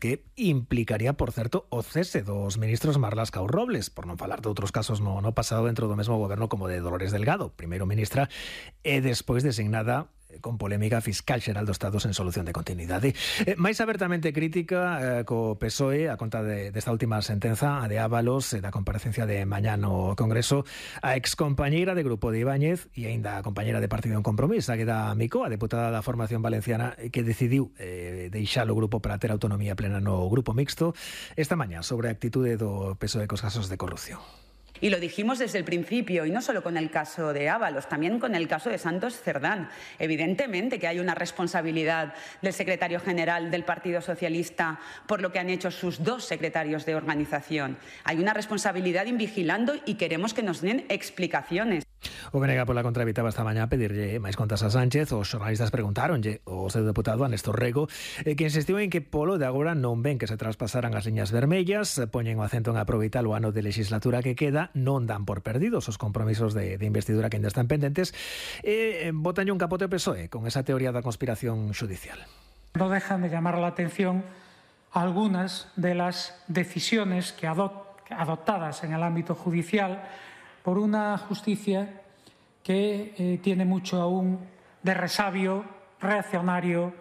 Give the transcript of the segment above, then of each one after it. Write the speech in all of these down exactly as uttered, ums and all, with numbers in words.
que implicaría, por certo, o cese dos ministros Marlaska ou Robles, por non falar de outros casos no, no pasado dentro do mesmo goberno como de Dolores Delgado, primeiro ministra e despois designada con polémica fiscal xeral do Estado sen solución de continuidade. Eh, máis abertamente crítica eh, co P S O E a conta de, desta última sentenza, a de Ábalos, eh, da comparecencia de mañá no Congreso, a excompañeira de Grupo de Ibáñez e aínda a compañeira de Partido en Compromiso, a Agueda Micó, a deputada da formación valenciana, que decidiu eh, deixar o grupo para ter autonomía plena no Grupo Mixto, esta mañá sobre a actitude do P S O E cos casos de corrupción. Y lo dijimos desde el principio, y no solo con el caso de Ábalos, también con el caso de Santos Cerdán. Evidentemente que hay una responsabilidad del secretario general del Partido Socialista por lo que han hecho sus dos secretarios de organización. Hay una responsabilidad en vigilando y queremos que nos den explicaciones. O que nega pola contra evitaba esta mañá pedirlle máis contas a Sánchez. Os xornalistas preguntáronlle o seu deputado a Néstor Rego, eh, que insistiu en que polo de agora non ven que se traspasaran as liñas vermellas, poñen o acento en aproveitar o ano de legislatura que queda, non dan por perdidos os compromisos de, de investidura que ainda están pendentes, e eh, botanlle un capote ao P S O E con esa teoría da conspiración judicial. No dejan de llamar la atención algunas de las decisiones que adop- adoptadas en el ámbito judicial por una justicia que eh, tiene mucho aún de resabio reaccionario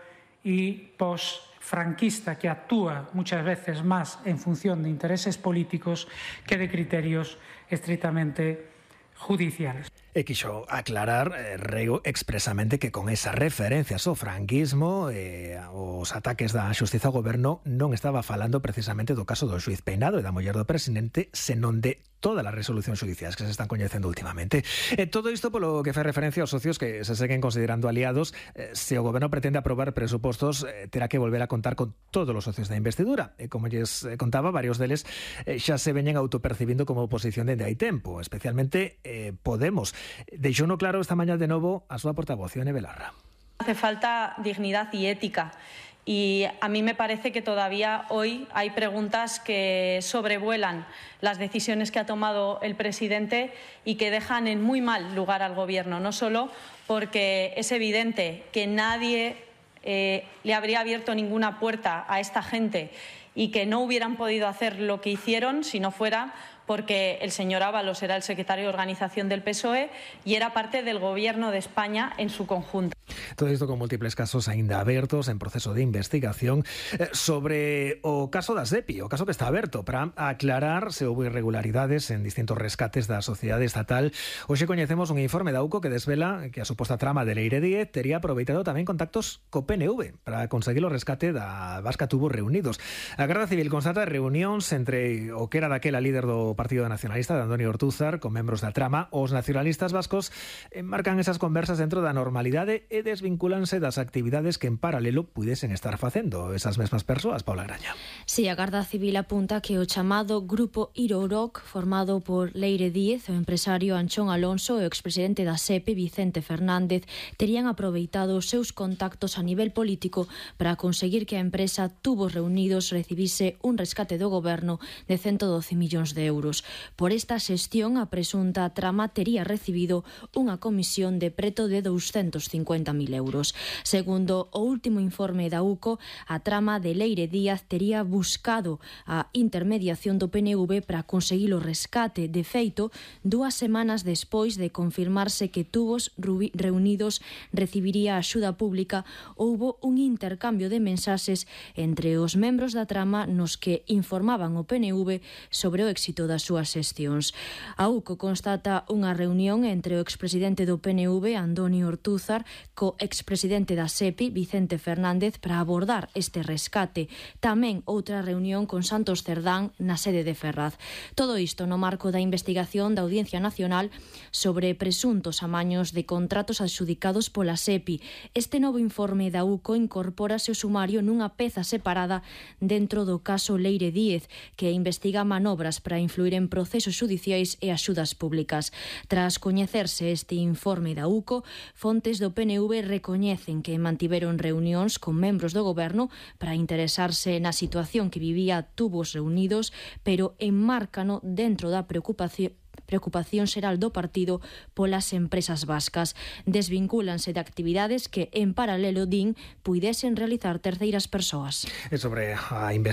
y post-franquista, que actúa muchas veces más en función de intereses políticos que de criterios estrictamente judiciales. E quixo aclarar eh, Rego expresamente que con esa referencias ao franquismo e eh, os ataques da xustiza ao goberno non estaba falando precisamente do caso do xuiz Peinado e da muller do presidente, senón de todas as resolucións judiciais que se están coñecendo últimamente. E todo isto polo que fai referencia aos socios que se seguen considerando aliados. Eh, se o goberno pretende aprobar presupostos, eh, terá que volver a contar con todos os socios da investidura. E como lles eh, contaba, varios deles eh, xa se veñen autopercibindo como oposición dende hai tempo, especialmente eh, Podemos. Deixou no claro esta mañá de novo a súa portavoz, Ione Belarra. Hace falta dignidad y ética. Y a mí me parece que todavía hoy hay preguntas que sobrevuelan las decisiones que ha tomado el presidente y que dejan en muy mal lugar al gobierno, no solo porque es evidente que nadie eh, le habría abierto ninguna puerta a esta gente y que no hubieran podido hacer lo que hicieron si no fuera porque el señor Ábalos era el secretario de organización del P S O E y era parte del gobierno de España en su conjunto. Todo isto con múltiples casos aínda abertos en proceso de investigación. Eh, sobre o caso da SEPI, o caso que está aberto para aclarar se houve irregularidades en distintos rescates da sociedade estatal. Hoxe coñecemos un informe da U C O que desvela que a suposta trama de Leire Díez tería aproveitado tamén contactos co P N V para conseguir o rescate da Vasca Tubos Reunidos. A Garda Civil constata reunións entre o que era daquela líder do Partido Nacionalista, de Andoni Ortúzar, con membros da trama. Os nacionalistas vascos enmarcan esas conversas dentro da normalidade e desvincúlanse das actividades que en paralelo puidesen estar facendo esas mesmas persoas, Paula Graña. Si, a Garda Civil apunta que o chamado Grupo Iroroc, formado por Leire Díez, o empresario Anchón Alonso e o expresidente da SEPE, Vicente Fernández, terían aproveitado os seus contactos a nivel político para conseguir que a empresa Tubos Reunidos recibise un rescate do goberno de ciento doce millóns de euros. Por esta xestión, a presunta trama tería recibido unha comisión de preto de douscentos cincuenta mil euros. Segundo o último informe da U C O, a trama de Leire Díaz tería buscado a intermediación do P N V para conseguir o rescate. De feito, dúas semanas despois de confirmarse que Tubos Reunidos recibiría axuda pública, houbo un intercambio de mensaxes entre os membros da trama nos que informaban o P N V sobre o éxito das súas xestións. A U C O constata unha reunión entre o expresidente do P N V, Andoni Ortúzar, co expresidente da SEPI, Vicente Fernández, para abordar este rescate. Tamén outra reunión con Santos Cerdán na sede de Ferraz. Todo isto no marco da investigación da Audiencia Nacional sobre presuntos amaños de contratos adxudicados pola SEPI. Este novo informe da U C O incorpórase ao sumario nunha peza separada dentro do caso Leire Díez, que investiga manobras para influir en procesos judiciais e axudas públicas. Tras coñecerse este informe da U C O, fontes do P N V recoñecen que mantiveron reunións con membros do goberno para interesarse na situación que vivía Tubos Reunidos, pero enmárcano dentro da preocupación preocupación xeral do partido polas empresas vascas. Desvincúlanse de actividades que, en paralelo, din, puidesen realizar terceiras persoas. E sobre a investigación